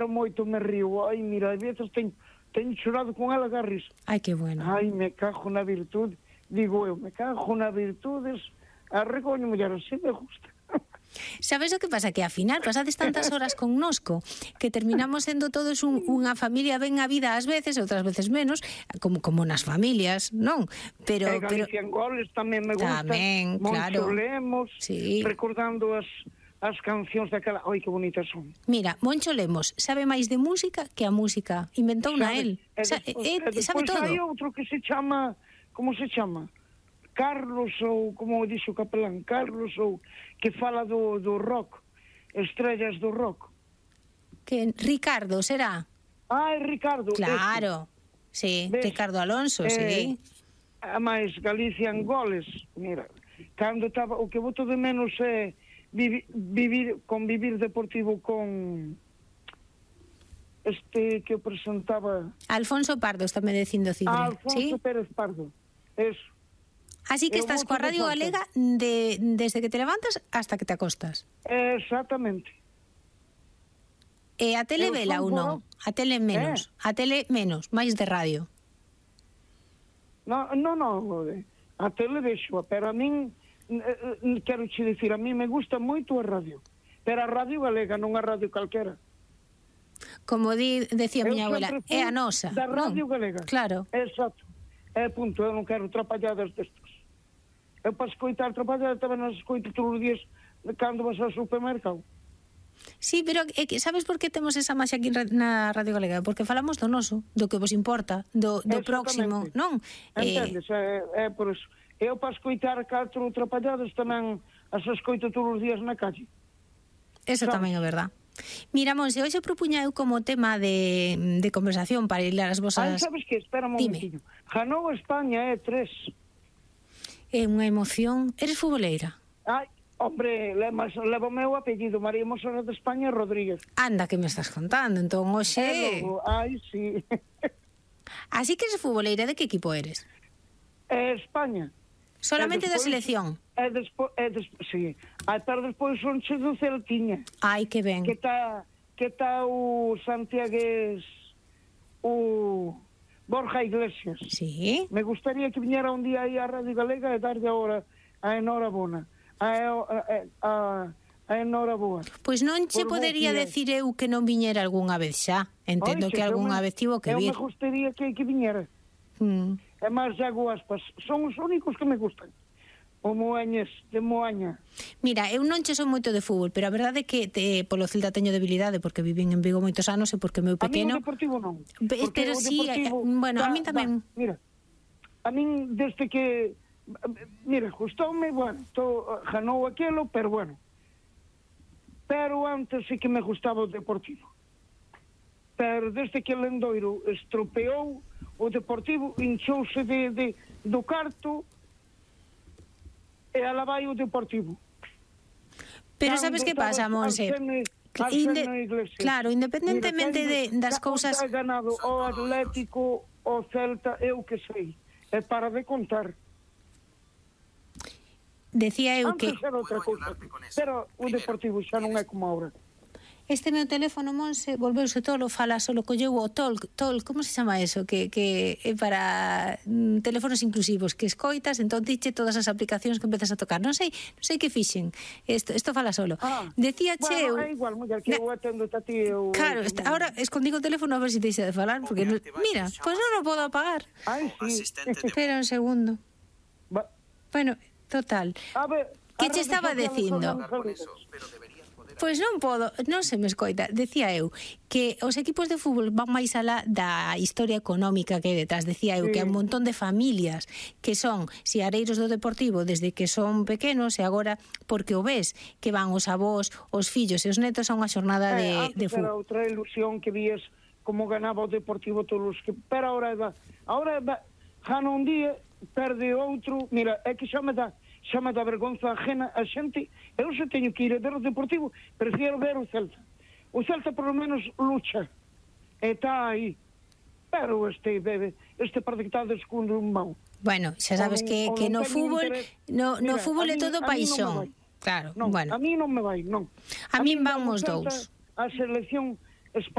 pero moito me río. Ai, mira, a veces teño chorado con ela garris. Ai, que bueno. Ai, me cajo na virtude. Digo eu, me cajo na virtudes, a recoño muller, así me gusta. Sabes o que pasa? Que ao final pasades tantas horas connosco que terminamos sendo todos unha familia ben a vida ás veces, outras veces menos, como nas familias, non? Pero Galicia en Goles tamén me gusta. Tamén, claro. Moncho Lemos, sí. Recordando as cancións daquela... Ai, que bonitas son. Mira, Moncho Lemos sabe máis de música que a música. Inventouna él. Sabe todo. Hai outro que se chama... Como se chama? Carlos, ou como dixo o capelán, Carlos, ou que fala do rock, estrellas do rock. Que Ricardo, será? Ah, é Ricardo. Claro, sí, ¿ves? Ricardo Alonso, sí. A máis Galicia en Goles, mira, cando estaba, o que boto de menos é convivir deportivo con este que o presentaba... Alfonso Pardo, está me dicindo Cidre. Alfonso Pérez Pardo, eso. Así que estás coa Radio Galega desde que te levantas hasta que te acostas. Exactamente. E a tele vela ou non? A tele menos. A tele menos, máis de radio. No, a tele vexo, pero a min, quero che dicir, a min me gusta moito a radio. Pero a Radio Galega, non a radio calquera. Como decía miña abuela, é a nosa. Da Radio Galega. Claro. Exacto. Punto, eu non quero trapalladas destas. Eu para escoitar trapalladas tamén as escoito todos os días cando vas ao supermercado. Sí, pero sabes por que temos esa maxia aquí na Radio Galega? Porque falamos do noso, do que vos importa, do próximo, non? Entendes? É por eso. Eu para escoitar 4 trapalladas tamén as escoito todos os días na calle. Eso tamén é verdad. Mira, Monse, hoxe propuña eu como tema de conversación para hilar as vosas... sabes que? Espera un momentinho. Ganou España, 3. É unha emoción. Eres futboleira? Ai, hombre, levo o meu apellido, María Mosona de España Rodríguez. Anda, que me estás contando, entón, hoxe... Ai, sí. Así que eres futboleira, de que equipo eres? España. Solamente da selección? Sí. Pero despois son che do Celtiña. Ai, que ben. Que está o santiagués, o Borja Iglesias. Sí. Me gustaría que viñera un día aí a Radio Galega e darlle agora a enhorabona. A enhoraboa. Pois non che podería decir eu que non viñera algunha vez xa. Entendo que algunha vez tivo que vir. Eu me gustaría que viñera. É máis Iago Aspas. Son os únicos que me gustan. O Moañes, de Moaña. Mira, eu non che son moito de fútbol, pero a verdade é que polo Celta teño debilidade, porque vivín en Vigo moitos anos e porque meu pequeno... A mí o Deportivo non. Pero sí, bueno, a min tamén... Mira, a min desde que... Mira, gustoume, bueno, ganou aquilo, pero bueno. Pero antes sí que me gustaba o Deportivo. Pero desde que Lendoiro estropeou o Deportivo, hinchouse do carto... E ala vai o Deportivo. Pero sabes que pasa, Monse? Claro, independentemente das cousas... Ha ganado o Atlético, o Celta, eu que sei. É para de contar. Decía eu que... Antes era outra cousa, pero o Deportivo xa non é como agora. Este meu teléfono, Monse, volveuse tolo, fala solo, colleu o talk, como se chama eso? Que é para teléfonos inclusivos, que escoitas, entón diche todas as aplicacións que empezas a tocar. Non sei que fixen, isto fala solo. Decía cheu... Bueno, é igual, muller, que eu atendo a ti. Claro, ahora escondigo o teléfono a ver se deixa de falar, porque, mira, pois non o podo apagar. Ai, sí. Espera un segundo. Bueno, total. Que che estaba dicindo? Pois non podo, non se me escoita. Decía eu que os equipos de fútbol van máis alá da historia económica que hai detrás. Decía eu que hai un montón de familias que son seareiros do Deportivo desde que son pequenos e agora porque o ves que van os avós, os fillos e os netos a unha xornada de fútbol. Era outra ilusión que vías como ganaba o Deportivo todos os que... Pero agora gana un día, perde outro. Mira, é que xa me dá vergonza ajena a xente. Eu se teño que ir a ver o Deportivo, prefiero ver o Celta. O Celta por lo menos lucha, está aí. Pero este par de que está de segundo un mau. Bueno, xa sabes que no fútbol no fútbol é todo paixón. Claro, bueno. A mí non me vai, non. A min van os dous. A selección española